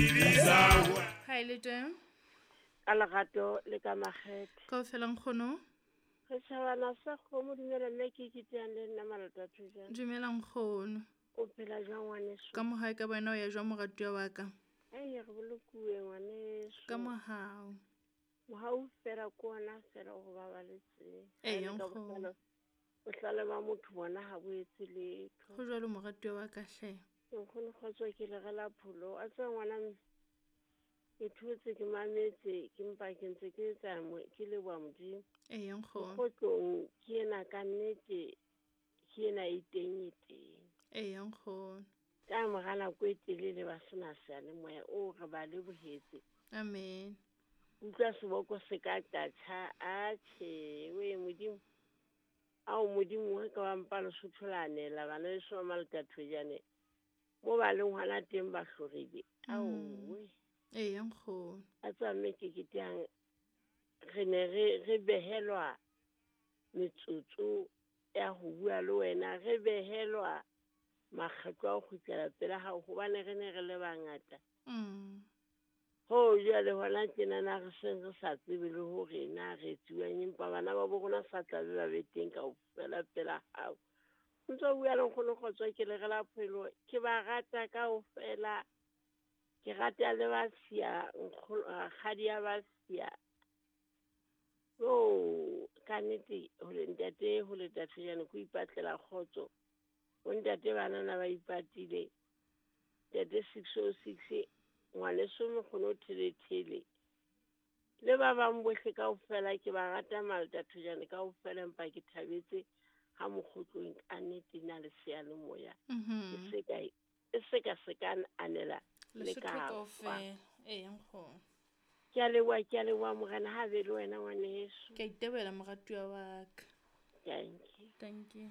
Ha e le teng. Ka lerato le ka makgethe. Kaofela nkgono. Re tjhabana sa kgomo dumela mme ke kiteyang le nna malata thojana. Dumela nkgono. O phela jwang ngwaneso? Ka mohau ka wena o ya jwang moratuwa wa ka? Ai re bolokuwe ngwaneso. Ka mohau. Mohau fela ke ona fela o go babaletseng. Ee, nkgono. Bohlale ba motho bona ha bo etse letho. Ho jwalo moratuwa wa ka hle. Nkgono kgotso ke le rela pholo. A tseba ngwana ke thotse ke mametse ke mpa ke ntse ke etsa ke leboha Modimo. Ee nkgono. Kgotlong ke ena ka nnete ke ena e teng e teng. Ee nkgono. Ka mora nako e telele ba sena seyalemoya o re ba lebohetse. Amen. Utlwa seboko se ka tatjha atjhe we Modimo. Ao Modimo wa ka wa mpa Lesotho la anela bana beso ba Malatathojane. Mo ba leng hona teng ba hlorile. Ao we. Ee nkgono. A tseba mme ke ketehang re ne re behelwa metsotso ya ho bua le wena, re behelwa makgetlo a ho kgutlela pela hao hobane re ne re le bangata. Ho jwale hona tjenana re seng re sa tsebe le hore na re etsuwang empa bana ba bo rona sa tlabe ba be teng kaofela pela hao. Ntso bua le nkgono kgotso ke le rela phelo ke ba rata kaofela. Ke rata le ba siya nkgono rakgadi ya ba siya. Oh ka nnete ho le ntate ho le tathejane ko ipatlela kgotso. Bo ntate banana ba ipatile. Ntate 606 ngwaneso mokgono thelethele. Le ba bang bohle kaofela ke ba rata Malatathojane kaofela empa ke thabetse ha mokgotlong ka nnete na le seyalemoya. E se ka se ka anela le ka kaofela. Ee nkgono. Ke a leboha morena ha be le wena ngwaneso. Ke a itebohela moratuwa wa ka. Thank you. Thank you.